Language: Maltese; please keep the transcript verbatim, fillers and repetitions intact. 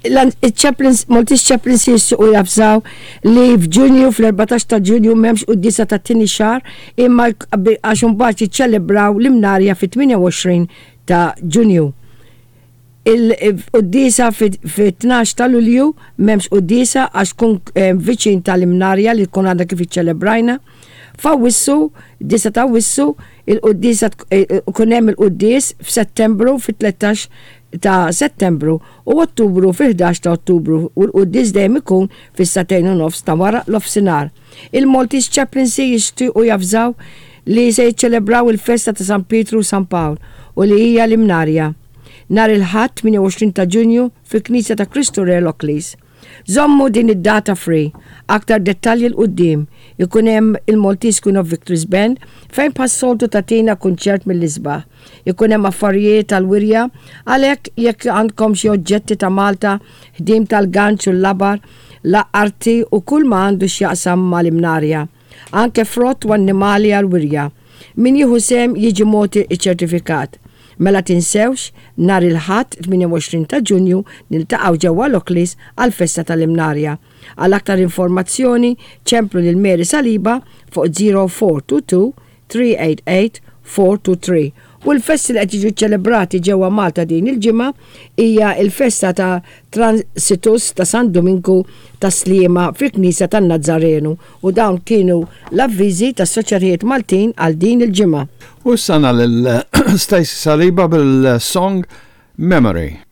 Il-Chaplains, Maltese Chaplaincy jixtiequ javżaw li f'Ġunju, fl-erbatax ta' Ġunju, m'hemmx quddiesa tat-tieni xahar, imma għax imbagħad jiċċelebraw l-Imnarja fit-tmienja u għoxrin ta' Ġunju. Il-quddiesa fit-tnax ta' Lulju m'hemmx quddiesa għax tkun eh, viċin tal-Imnarja li tkun għadha kif iċċelebrajna. F'Awwissu, disgħa ta' Awwissu, il-quddiesa kun hemm il-quddies f'Settembru, fit-tlettax ta' Settembru, u Ottubru fil-ħdax ta' Ottubru, u l-quddies dejjem ikun fis-sagħtejn u nofs ta' wara l-ofsinhar. Il-Maltese Chaplaincy jixtiequ javżaw li se jiċċelebraw il-festa ta' San Pietru u San Pawl u li hija l-Imnarja nhar il-Ħadd tmienja u għoxrin ta' Ġunju fil-Knisja ta' Kristu Re, Lockleys. Żommu din id-data free. Aktar dettalji 'l quddiem. Ikun hemm il-Maltese Queen of Victories Band fejn bħas-soltu tagħtina kunċert mill-isbaħ. Ikun hemm affarijiet tal-wirja, għalhekk jekk għandkom xi oġġetti ta' Malta, ħdim tal-ganċ u l-labar, l-arti u kull ma għandu x'jaqsam mal-Imnarja. Anke frott u annimali għal-wirja. Min jieħu sehem jiġi mogħti ċertifikat. Mela tinsewx, nhar il-Ħadd tmienja u għoxrin ta' Ġunju niltaqgħu ġewwa Lockleys għal-festa tal-Imnarja. Għal aktar informazzjoni ċemplu lil Mary Saliba fuq żero erba' tnejn tnejn tlieta tmien tmien erba' tnejn tlieta. U l-festi li qed jiġu ċelebrati ġewwa Malta din il-ġimgħa hija l-festa ta' Transitus ta' San Dominku ta' Sliema fil-Knisja tan-Nazzarenu, u dawn kienu l-avviżi tas-soċjetajiet Maltin għal din il-ġimgħa. U sana lil Stacey Saliba bil-song Memory.